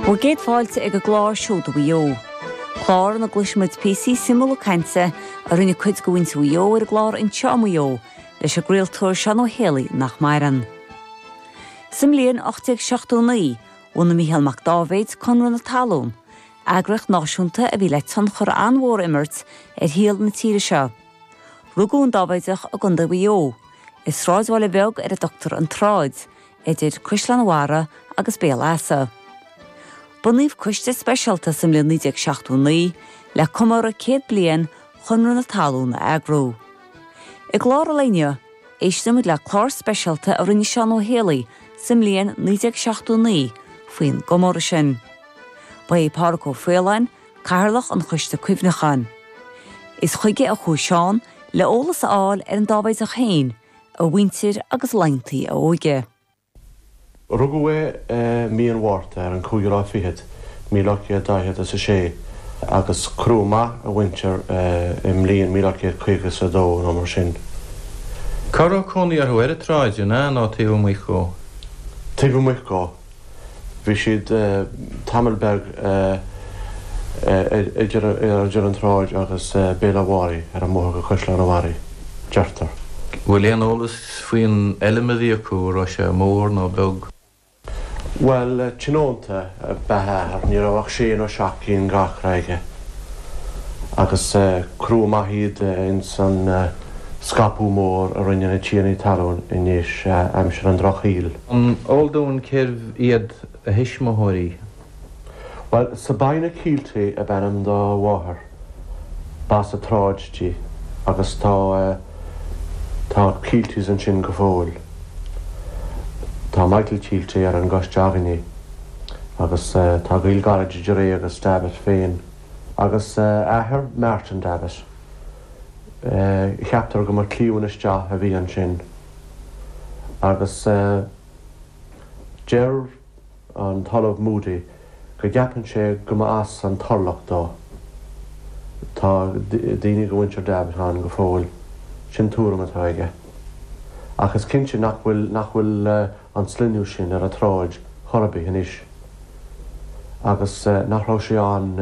Bhur gcéad fáilte ag an gclár Seoda Mhaigh Eo. Clár ina gcloisfimid píosaí suimiúla cainte a rinne cuid de mhuintir Mhaigh Eo ar an gclár Anseo i Maigh Eo leis an gcraoltóir Seán Ó Héalaí nach maireann. Sa mbliain 1879, bhunaigh Mícheál Mac Dáibhéid Conradh na Talún, eagraíocht náisiúnta a bhí le tionchar an-mhór a imirt ar shaol na tíre seo. Rugadh an Dáibhéideach i gContae Mhaigh Eo, i sráidbhaile beag ar a dtugtar An tSráid, idir Caisleán Bharraigh agus Béal Easa. Bunaíodh coiste speisialta sa mbliain 1979 le comóradh 100 bliain Chonradh na Talún a eagrú. I gclár an lae inniu, éistfimid le clár speisialta a rinne Seán Ó Héalaí sa mbliain 1979 faoin gcomóradh sin. Ba é Pádhraic Ó Faoláin, Cathaoirleach an Choiste Cuimhneacháin. Is chuige a chuaigh Seán le eolas a fháil ar an Dáibhéideach féin, a mhuintir agus laethanta a óige. Rugadh é i mí an Mhárta ar an cúigiú lá fichead, 1846, agus cuireadh amach a mhuintir i mbliain 1852 nó mar sin. Cá raibh cónaí orthu, ar an tsráid, an ea, nó taobh amuigh dhó? Taobh amuigh dhó. Bhí siad tamall beag idir an tsráid agus Béal Átha Bharraigh, ar an mbóthar go Caisleán an Bharraigh, deirtear. Bhfuil aon eolas faoin fheilm a bhí acu, an raibh sé mór nó beag? Bhuel, tionónta ab ea a athair, ní raibh ach sé nó seacht gcinn d'acra aige agus cuireadh amach iad ins an scaipeadh mór a rinne na tiarnaí talún i ndéis aimsir an Drochshaoil. An eol dúinn cérbh iad a thuismitheoirí? Bhuel, Sabina Kielty ab ainm dá mháthair. B'as an tSráid di agus tá, tá Kieltys ansin go fóill. Tá Michael Kielty ar an gcoiste againne agus tá gaol gairid idir é agus Davitt féin. Agus a athair, Martin Davitt. Ceaptar go mba cliamhain isteach a bhí ansin agus deir an tOllamh Moody go gceapann sé go mba as an Turlach dó. Tá daoine de mhuintir Davitt ann go fóill. Sin tuairim atá aige. Ach is cinnte nach bhfuil nach bhfuil an sloinneadh sin ar an tsráid chor ar bith anois agus nach raibh sé ann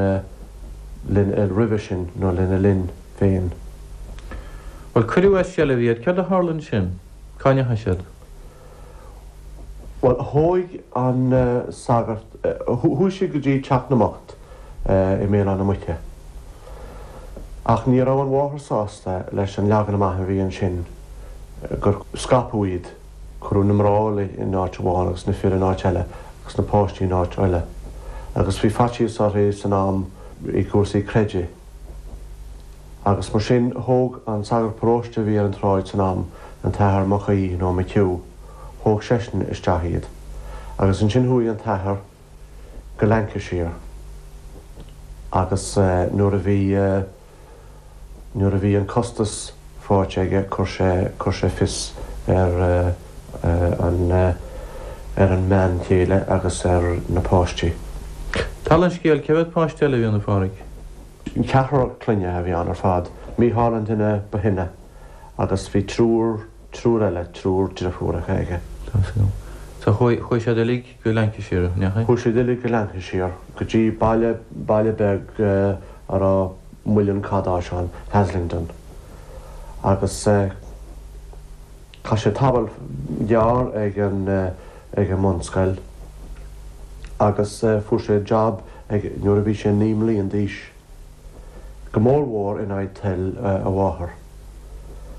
roimhe sin nó lena linn féin. Bhuel, cuireadh as seilbh iad. Céard a tharla ansin? Cá ndeachaigh siad? Bhuel, thóig an sagart, chuaigh siad go dtí Teach na mBocht i mBéal Átha na Muice. Ach ní raibh an mháthair sásta leis an leagan amach a bhí ansin, gur scaipeadh iad, cuireadh na mná in áit amháin agus na fir in áit eile agus na páistí in áit eile. Agus bhí faitíos uirthi san am i gcúrsaí creidimh. Agus mar sin, thóg an sagart paróiste a bhí ar an tsráid san am, an tAthair Mac Aoidh nó McHugh, thóg seisean isteach iad. Agus ansin chuaigh an t-athair go Lancashire agus nuair a bhí, nuair a bhí an costas faighte aige, chuir sé, chuir sé fios ar an, ar an mbean chéile agus ar na páistí. Dála an scéil, cé mhéad páiste eile a bhí ann, a Phádraig? Ceathrar clainne a bhí ann ar fad, Mícheál an duine ba shine agus bhí triúr, triúr eile, triúr deirfiúracha aige. So chuaigh, chuaigh siad uilig go Lancashire, ndeachaigh? Chuaigh siad uilig go Lancashire, go dtí baile, baile beag a raibh muileann cadáis ann, Haslingden. Agus chaith sé tamall gearr ag an, ag an mbunscoil agus fuair sé jab ag nuair a bhí sé 9 mblian d'aois, go mór mhór in aghaidh toil a mháthar.